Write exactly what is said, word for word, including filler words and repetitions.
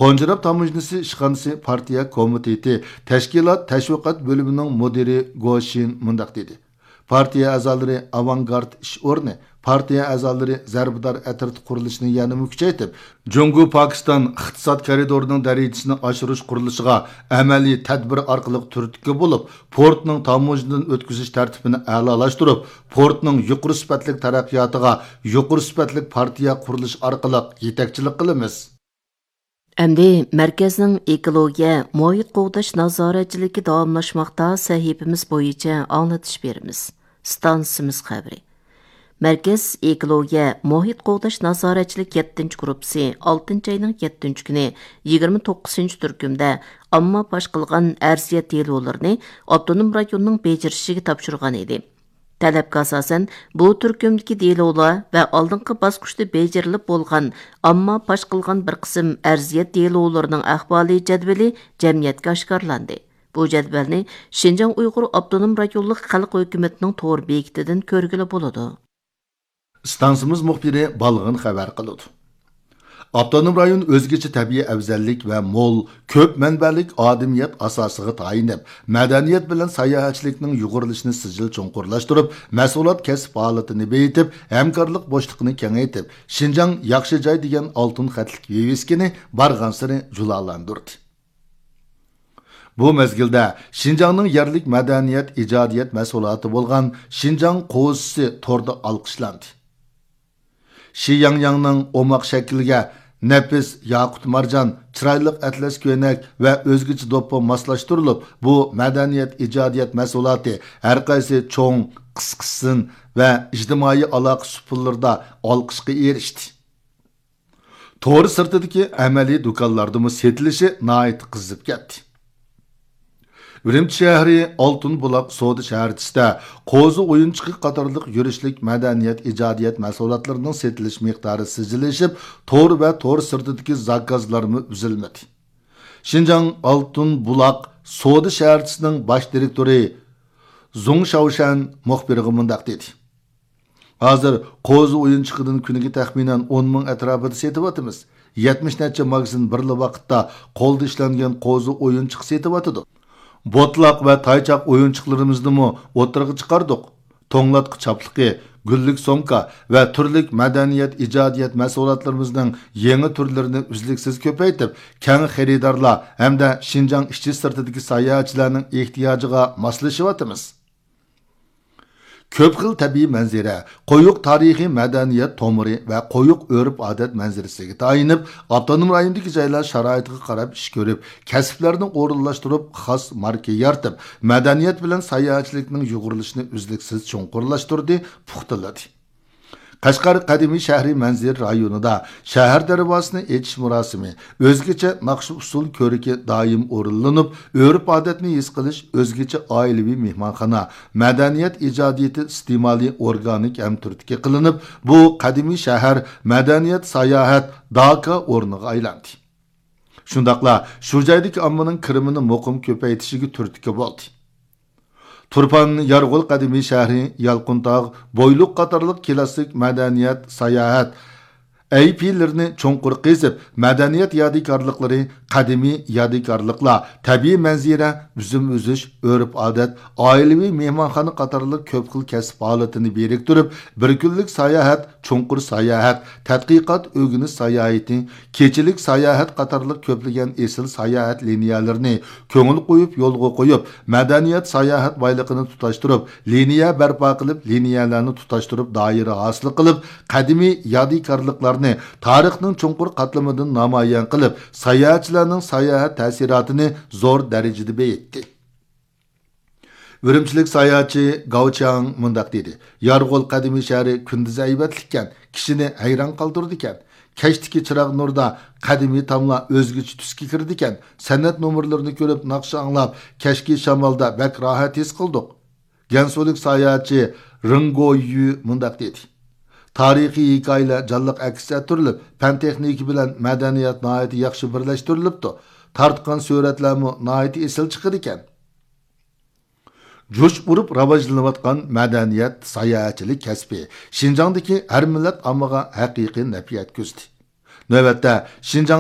قونجىراپ تاموژنىسى ئىشخانىسى پارتىيە كومىتېتى تەشكىلات تەشۋىقات بۆلۈمىنىڭ مۇدىرى گو شىن مۇنداق دېدى: پارتىيە ئەزالىرى ئاۋانگارت ئىش ئورنى، پارتىيە ئەزالىرى زەربىدار ئەترىتى قۇرۇلۇشىنى يەنىمۇ كۈچەيتىپ، جۇڭگو پاكىستان ئىقتىساد كارىدورىنىڭ دەرىجىسىنى ئاشۇرۇش قۇرۇلۇشىغا ئەمەلىي تەدبىر ئارقىلىق تۈرتكە بولۇپ، پورتنىڭ تاموژنىدىن ئۆتكۈزۈش تەرتىپىنى ئەلالاشتۇرۇپ، پورتنىڭ يۇقىرى سۈپەتلىك تەرەققىياتىغا يۇقىرى سۈپەتلىك پارتىيە قۇرۇلۇشى ئارقىلىق يېتەكچىلىك قىلىمىز. ئەمدى مەركەزنىڭ ئېكولوگىيە، مۇھىت قوغداش نازارەتچىلىكى داۋاملاشماقتا سەھىپىمىز بويىچە ئاڭلىتىش بېرىمىز. ئىستانسىمىز خەۋىرى. مەركەز ئېكولوگىيە، مۇھىت قوغداش نازارەتچىلىك يەتتىنچى گۇرۇپپىسى ئالتىنچى ئاينىڭ يەتتىنچى كۈنى يىگىرمە توققۇزىنچى تۈركۈمدە ئامما پاش قىلغان ئەرزىيەت دېلولىرىنى ئاپتونوم رايوننىڭ بېجىرىشىگە تاپشۇرغان ئىدى. تەلەپكە ئاساسەن، بۇ تۈركۈمدىكى دېلولار ۋە ئالدىنقى باسقۇچتا بېجىرىلىپ بولغان ئامما پاش قىلغان بىر قىسىم ئەرزىيەت دېلولىرىنىڭ ئەھۋالى جەدۋىلى جەمئىيەتكە ئاشكارىلاندى. بۇ جەدۋەلنى شىنجاڭ ئۇيغۇر ئاپتونوم رايونلۇق خەلق ھۆكۈمىتىنىڭ تور بېكىتىدىن كۆرگىلى بولىدۇ. ئىستانسىمىز مۇخبىرى بالغىن خەۋەر قىلىدۇ. ئاپتونوم رايون ئۆزگىچە تەبىئىي ئەۋزەللىك ۋە مول، كۆپ مەنبەلىك ئادىمىيەت ئاساسىغا تايىنىپ، مەدەنىيەت بىلەن ساياھەتچىلىكنىڭ يۇغۇرۇلۇشىنى سىجىل چوڭقۇرلاشتۇرۇپ، مەھسۇلات كەسىپ ھالىتىنى بېيىتىپ، ھەمكارلىق بوشلۇقىنى كېڭەيتىپ، شىنجاڭ ياخشى جاي دېگەن ئالتۇن خەتلىك ۋىۋىسكىنى بارغانسېرى جۇلالاندۇردى. بۇ مەزگىلدە شىنجاڭنىڭ يەرلىك مەدەنىيەت، ئىجادىيەت مەھسۇلاتى بولغان شىنجاڭ قوزىسى توردا ئالقىشلاندى. شى ياڭياڭنىڭ ئوماق شەكلىگە نەپىس ياقۇت مارجان، چىرايلىق ئەتلەس كۆينەك ۋە ئۆزگىچە دوپپا ماسلاشتۇرۇلۇپ، بۇ مەدەنىيەت، ئىجادىيەت مەھسۇلاتى ھەرقايسى چوڭ، قىسقىسىن ۋە ئىجتىمائىي ئالاقە سۇپىلىرىدا ئالقىشقا ئېرىشتى. تور سىرتىدىكى ئەمەلىي دۇكانلاردىمۇ سېتىلىشى ناھايىتى قىزىپ كەتتى. ئۈرۈمچى شەھىرى ئالتۇن بۇلاق سودا شەھەرچىسىدە قوزا ئويۇنچۇقى قاتارلىق يۈرۈشلۈك مەدەنىيەت، ئىجادىيەت مەھسۇلاتلىرىنىڭ سېتىلىش مىقدارى سىجىللىشىپ، تور ۋە تور سىرتىدىكى زاكازلارمۇ ئۈزۈلمىدى. شىنجاڭ ئالتۇن بۇلاق سودا شەھەرچىسىنىڭ باش دىرېكتورى زۇڭ شاۋشەن مۇخبىرغا مۇنداق دېدى: ھازىر قوزا ئويۇنچۇقىدىن كۈنىگە تەخمىنەن ئون مىڭ ئەتراپىدا سېتىۋاتىمىز. يەتمىش نەچچە ماگىزىن بىرلا ۋاقىتتا قولدا ئىشلەنگەن قوزا ئويۇنچۇق سېتىۋاتىدۇ. بوتىلاق ۋە تايچاق ئويۇنچۇقلىرىمىزنىمۇ ئوتتۇرىغا چىقاردۇق. توڭلاتقۇ چاپلىقى، گۈللۈك سومكا ۋە تۈرلۈك مەدەنىيەت، ئىجادىيەت مەھسۇلاتلىرىمىزنىڭ يېڭى تۈرلىرىنى ئۈزلۈكسىز كۆپەيتىپ، كەڭ خېرىدارلار ھەمدە شىنجاڭ ئىچى سىرتىدىكى ساياھەتچىلەرنىڭ ئېھتىياجىغا ماسلىشىۋاتىمىز. كۆپ خىل تەبىئىي مەنزىرە، قويۇق تارىخىي مەدەنىيەت تومۇرى ۋە قويۇق ئۆرپ-ئادەت مەنزىرىسىگە تايىنىپ، ئاپتونوم رايوندىكى جايلار شارائىتىغا قاراپ ئىش كۆرۈپ، كەسىپلەرنى ئورۇنلاشتۇرۇپ، خاس ماركا يارىتىپ، مەدەنىيەت بىلەن ساياھەتچىلىكنىڭ يۇغۇرۇلۇشىنى ئۈزلۈكسىز چوڭقۇرلاشتۇردى، پۇختىلىدى. قەشقەر قەدىمىي شەھىرى مەنزىرە رايونىدا شەھەر دەرۋازىسىنى ئېچىش مۇراسىمى، ئۆزگىچە ناخشا-ئۇسسۇل كۆركى دائىم ئورۇنلىنىپ، ئۆرپ-ئادەتنى ھېس قىلىش، ئۆزگىچە ئائىلىۋى مېھمانخانا، مەدەنىيەت ئىجادىيىتى ئىستېمالى ئورگانىك ھەم تۈرتكە قىلىنىپ، بۇ قەدىمىي شەھەر مەدەنىيەت ساياھەت داكا ئورنىغا ئايلاندى. شۇنداقلا شۇ جايدىكى ئاممىنىڭ كىرىمىنى مۇقىم كۆپەيتىشىگە تۈرتكە بولدى. تۇرپان يارغول قەدىمىي شەھىرى، يالقۇنتاغ، بويلۇق قاتارلىق كىلاسسىك مەدەنىيەت، ساياھەت ئەيىبلىرىنى چوڭقۇر قېزىپ، مەدەنىيەت يادىكارلىقلىرى، قەدىمىي يادىكارلىقلار، تەبىئىي مەنزىرە، ئۈزۈم ئۈزۈش، ئۆرپ-ئادەت، ئائىلىۋى مېھمانخانا قاتارلىق كۆپ خىل كەسىپ ھالىتىنى بىرىكتۈرۈپ، بىر كۈنلۈك ساياھەت، چوڭقۇر ساياھەت، تەتقىقات ئۆگىنىش ساياھىتى، كېچىلىك ساياھەت قاتارلىق كۆپلىگەن ئېسىل ساياھەت لىنىيەلىرىنى كۆڭۈل قويۇپ يولغا قويۇپ، مەدەنىيەت ساياھەت بايلىقىنى تۇتاشتۇرۇپ، لىنىيە بەرپا قىلىپ، لىنىيەلەرنى تۇتاشتۇرۇپ، دائىرە ھاسىل قىلىپ، قەدىمىي يادىكارلىقلارنى تارىخنىڭ چوڭقۇر قاتلىمىدىن نامايان قىلىپ، ساياھەتچىلەرنىڭ ساياھەت تەسىراتىنى زور دەرىجىدە بېيىتتى. ئۈرۈمچىلىك ساياھەتچى گاۋ چياڭ مۇنداق دېدى: يارغول قەدىمىي شەھىرى كۈندۈزى ھەيۋەتلىككەن، كىشىنى ھەيران قالدۇرىدىكەن. كەچتىكى چىراغ نۇردا قەدىمىي تاملار ئۆزگىچە تۈسكە كىرىدىكەن. سەنئەت نومۇرلىرىنى كۆرۈپ، ناخشا ئاڭلاپ، كەچكى شامالدا بەك راھەت ھېس قىلدۇق. گەنسۇلۇك ساياھەتچى رېڭ گويۈ مۇنداق دېدى: تارىخىي ھېكايىلەر جانلىق ئەكس ئەتتۈرۈلۈپ، پەن تېخنىكا بىلەن مەدەنىيەت ناھايىتى ياخشى بىرلەشتۈرۈلۈپتۇ. تارتقان سۈرەتلەرمۇ ناھايىتى ئېسىل چىقىدىكەن. جۇش ئۇرۇپ راۋاجلىنىۋاتقان مەدەنىيەت، ساياھەتچىلىك كەسپى شىنجاڭدىكى ھەر مىللەت ئاممىغا ھەقىقىي نەپ يەتكۈزدى. نۆۋەتتە، شىنجاڭ